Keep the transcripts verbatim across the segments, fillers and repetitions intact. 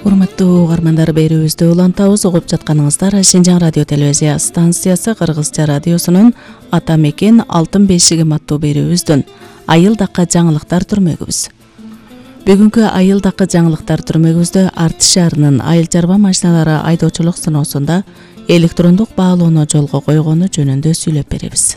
Урматтуу угармандар, берүүбүздү улантабыз. Угуп жатканыңыздар Шинжаң радио телевизия станциясы Кыргызча радиосунун Ата мекен алтын бешиги аттуу берүүбүздүн айылдакка жаңылыктар түрмөгүбүз. Бүгүнкү айылдакка жаңылыктар түрмөгүбүздө Артыш шаарынын айыл чарба машиналары айдоочулук сыноосунда электрондук баалоону жолго койгону жөнүндө сүйлөп беребиз.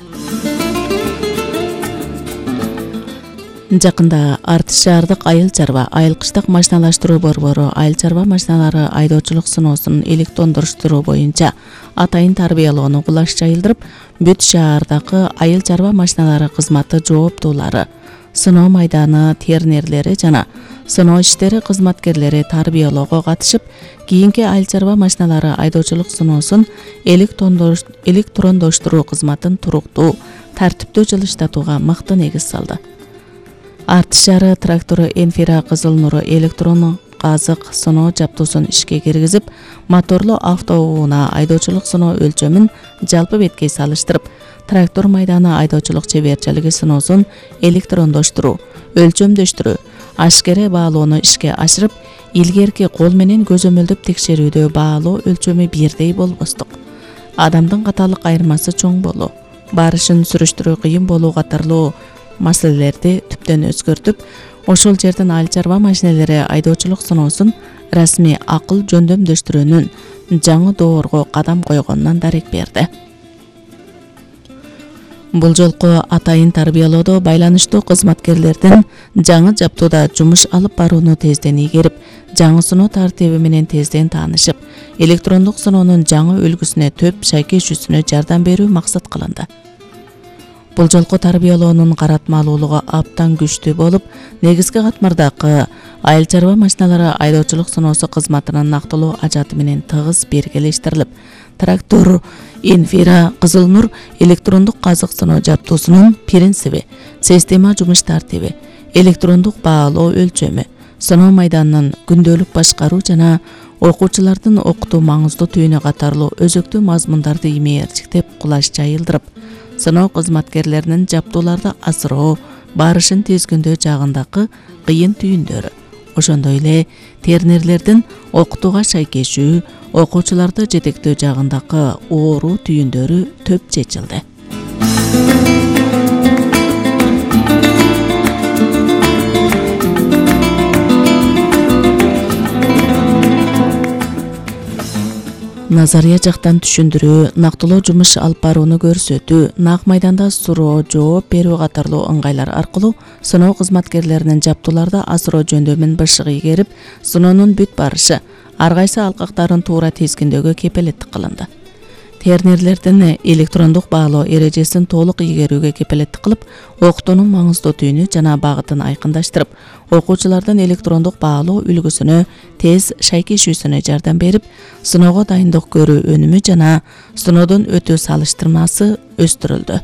Жакында Артыш шаардык айыл чарба айыл кыштык машиналаштыруу борбору айыл чарба машиналары айдоочулук сыноосун электрондоштуруу боюнча атайын тарбиялоону кулаш жайылдырып, бүт шаардагы айыл чарба машиналары кызматы жооптуулары, сыноо майданы тернерлери жана сыноо иштери кызматкерлери тарбиялоого катышып, кийинки айыл чарба машиналары айдоочулук сыноосун электрондоштуруу кызматын туруктуу, тартиптүү жылыштатууга мыкты негиз салды. Артыш шаары трактору Энфира Кызыл Нуру электрон казык сыноо жаптуусун ишке киргизип, моторлуу автоунаа айдоочулук сыноо өлчөмүн жалпы бетке салыштырып, трактор майданы айдоочулук чеберчилиги сыноосун электрондоштуруу, өлчөмдөштүрүү, ашкере баалоону ишке ашырып, илгерки кол менен көзөмөлдөп текшерүүдө баалоо өлчөмү бирдей болбостук, адамдын каталык айырмасы чоң болуу, барышын сүрүштүрүү кыйын болуу катарлуу маселелерди түптөн өзгөртүп, ошол жердин айыл чарба машиналери айдоочулук сыноосун расмий акыл жөндөмдөштүрүүнүн жаңы доорго кадам койгонунан дарек берди. Бул жолку атайын тарбиялоодо байланыштуу кызматкерлердин жаңы жаптууда жумуш алып барууну тезден ийгерип, жаңы сыноо тартиби менен тезден таанышып, электрондук сыноонун жаңы үлгүсүнө төп шайкешүүсүнө жардам берүү максат кылынды. Бул жолку тарбиялоонун каратмалуулугу абдан күчтүү болуп, негизги катмардагы айыл чарба машиналары айдоочулук сыноосу кызматынын нактылуу ажаты менен тыгыз биргелештирилип, трактор Энфира Кызыл Нур электрондук казык сыноо жаптуусунун принциби, система жумуш тартиби, электрондук баалоо өлчөмү, сыноо майданынын күндөлүк башкаруу жана окуучулардын окутуу маңыздуу түйүнү катарлуу өзөктүү мазмундарды имээрчиктеп кулаш жайылдырып, сыноо кызматкерлеринин жаптууларды асыроо, барышын тизгиндөө жагындагы кыйын түйүндөрү, ошондой эле тернерлердин окутууга шайкешүү, окуучуларды жетектөө жагындагы оору түйүндөрү төп чечилди. Назария жактан түшүндүрүү, нактылуу жумуш алып барууну көрсөтүү, нак майданда суроо, жооп берүү катарлуу ыңгайлар аркылуу сыноо кызматкерлеринин жаптууларды асыроо жөндөмүн бышык ийгерип, сыноонун бүт барышы, ар кайсы алкактарын туура тизгиндөөгө кепилеттик кылынды. Тернерлердин электрондук баалоо эрежесин толук ийгерүүгө кепилеттик кылып, окутуунун маңыздуу түйүнү жана багытын айкындаштырып, окуучулардын электрондук баалоо үлгүсүнө тез шайкешүүсүнө жардам берип, сыноого дайындык көрүү өнүмү жана сыноодон өтүү салыштырмасы өстүрүлдү.